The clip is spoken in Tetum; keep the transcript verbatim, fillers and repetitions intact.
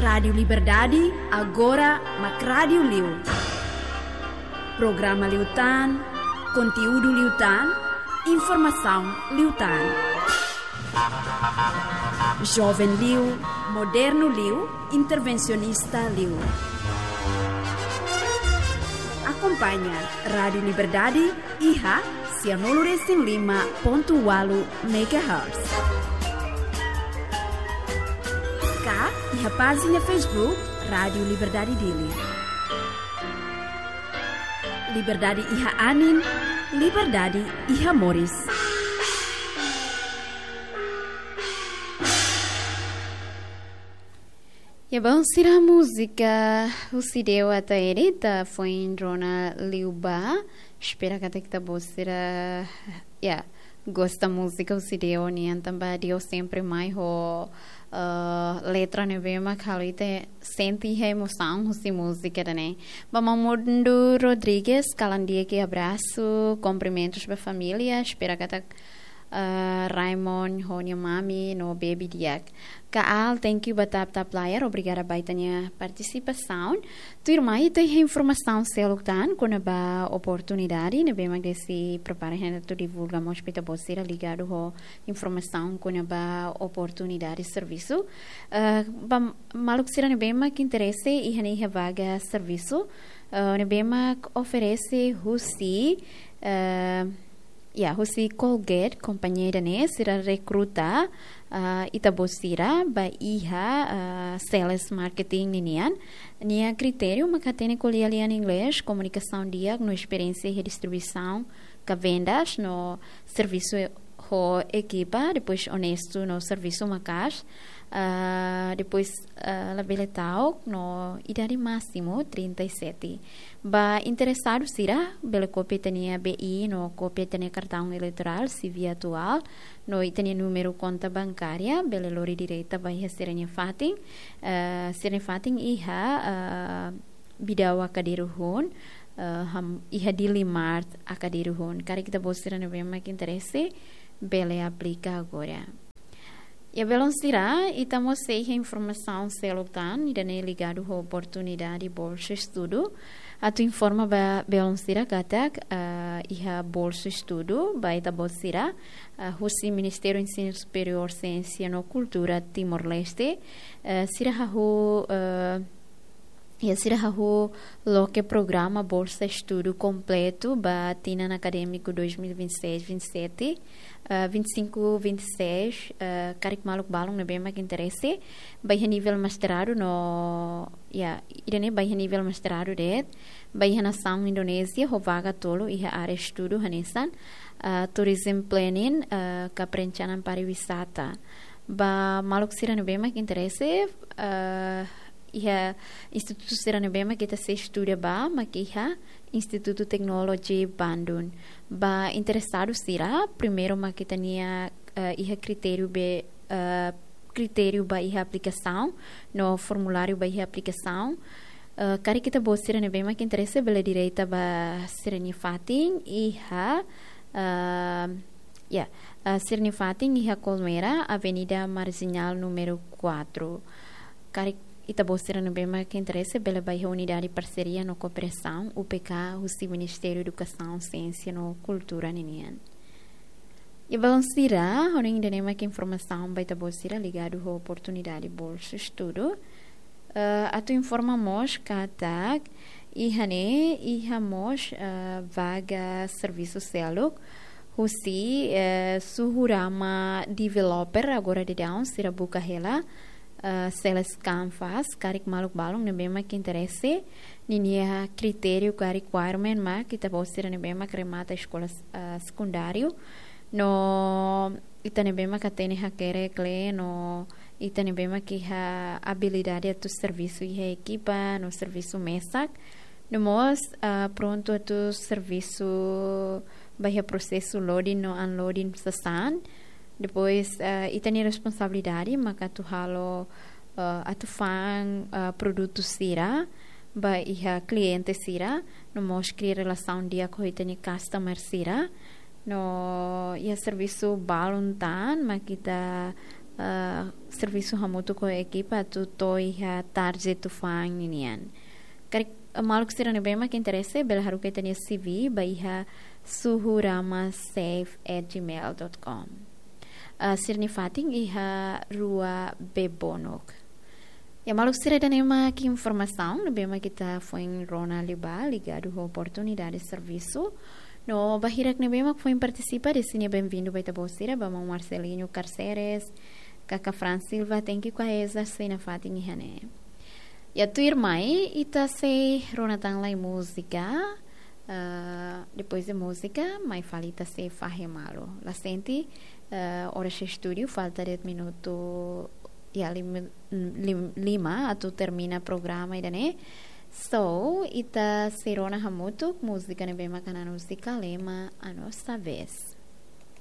Rádiu Liberdade, agora mak rádiu liu. Programa liután, konteúdu liután, informasaun liután. Joven liu, modernu liu, intervensionista liu. Akompaña Rádiu Liberdade iha sianulu resin lima pontu ualu megahertz. Ka iha pájina Facebook Rádiu Liberdade Dili. Liberdade iha anin, liberdade iha moris. Ya, bom, sira múzika husi Deo Ataeri ita foin rona liubá. Espera katak ita-boot sira, ya, gosta múzika husi Deo nian, tanba Deo sempre mai ho, eh, letra ne'ebé mak halo ita sente iha emosaun husi múzika ida-ne'e. Ba Mamudu Rodrigues, kalan di'ak, abrasu, kumprimentus ba família, espera katak eh, Raymond ho nia mami no baby di'ak. Kaal, thank you ba TapTap Layar, obrigada ba ita-nia partisipasaun. Tuirmai ita iha informasaun seluk tan kona-ba oportunidade ne'ebé mak Desi prepara hela atu divulga mós ba ita-boot sira ligadu ho informasaun kona-ba oportunidade servisu. Eh, ba maluk sira ne'ebé mak interese iha ne'e iha vaga servisu, eh, ne'ebé mak oferese husi, eh, ya, husi Colgate, kompañia ida-ne'e, sira rekruta, ah, ita-boot sira ba iha, ah, sales marketing ninian. Nia kritériu mak hatene ko'alia lian inglés, komunikasaun di'ak no esperiénsia iha distribuisaun ka vendas no servisu ho ekipa, depois onestu no servisu maka'as, ah, depois, ah, labele ta'uk no idade másimu trinta e sete. Ba interesadu sira, bele kopia ita-nia B I no kopia ita-nia kartaun eleitorál, C V atuál, no ita-nia númeru konta bankária, bele lori direta ba iha sira-nia fatin, eh, sira-nia fatin iha, eh, Bidau Akadiru hun, eh, ham-, iha Dili Mart Akadiru hun. Karik ita-boot sira ne'ebé mak interese, bele aplika agora. Ya, belun sira, ita mós sei iha informasaun seluk tan, ida-ne'e ligadu ho oportunidade bolsa estudu. Atu informa ba belun sira katak, ah, iha bolsa estudu ba ita-boot sira, ah, husi Ministériu Ensinu Superiór, Siénsia no Kultura Timor-Leste, eh, sira hahú, eh, ya, sira hahú loke programa bolsa estudu kompletu ba tinan akadémiku dois mil e vinte e seis, vinte e sete, eh, vinte e cinco, vinte e seis, eh, karik maluk balun ne'ebé mak interese, ba iha nivel mestradu no, ya, ida-ne'e ba iha nivel mestradu de'it, ba iha nasaun Indonézia, ho vaga tolu iha área estudu hanesan, eh, tourism planning, eh, ka perencanaan pariwisata. Ba maluk sira ne'ebé mak interese, eh, iha institutu sira ne'ebé mak ita sei estuda ba, mak iha Institutu Teknologi Bandung. Ba interesadu sira, primeiru mak ita-nia, eh, iha kritériu be, eh, kritériu ba iha aplikasaun, no formuláriu ba iha aplikasaun. Eh, karik ita-boot sira ne'ebé mak interese bele direta ba sira-nia fatin iha, eh, ya, eh, sira-nia fatin iha Colmera, Avenida Marginal númeru quatro. Karik ita-boot sira ne'ebé mak interese bele ba iha Unidade Parseria no Kooperasaun, U P K, husi Ministériu Edukasaun, Siénsia no Kultura ninian. Ya, belun sira, ha'u hanoin ida-ne'e mak informasaun ba ita-boot sira ligadu ho oportunidade bolsa estudu. Eh, atu informa mós katak iha ne'e iha mós, eh, vaga servisu seluk husi, eh, Suhurama Developer, agora daudaun sira buka hela, eh, Sales Canvas, karik maluk balun ne'ebé mak interese, ninia kritériu ka requirement mak ita-boot sira ne'ebé mak remata eskola, eh, sekundáriu, no ita ne'ebé mak hatene hakerek lee, no ita ne'ebé mak iha abilidade atu servisu iha ekipa, no servisu mesak, no mós, ah, prontu atu servisu ba iha prosesu loading no unloading sasán. Depois, ah, ita-nia responsabilidade maka atu halo, ah, atu fa'an, ah, produtu sira ba iha kliente sira, no mós kria relasaun di'ak ho ita-nia customer sira. No iha servisu balun tan mak ita ah, servisu hamutuk ho ekipa atu to'o iha tarde tufan ninian. Karik, ah, maluk sira ne'ebé mak interese, bele haruka ita-nia C V ba iha suhuramasafe at gmail dot com. Ah, sira-nia fatin iha Rua Bebonuk. Ya, maluk sira, ida-ne'e mak informasaun ne'ebé mak ita foin rona liubá ligadu ho oportunidade servisu. No ba hirak ne'ebé mak foin partisipa, designadu benvindu ba ita-boot sira, ba maun Marcelino Carceres, kaka Fran Silva, thank you, Kuaeza, sei nafatin iha ne'e. Ya, tuirmai ita sei rona tan lai múzika. Ah, depois de múzika, mai fali ita sei fahe malu. La sente, ah, oras iha estúdiu, falta dez minutu, ya, lim-, lim-, lima atu termina programa ida-ne'e. So, ita sei rona hamutuk múzika ne'ebé mak hanan husi Kalema, A Nossa Vez.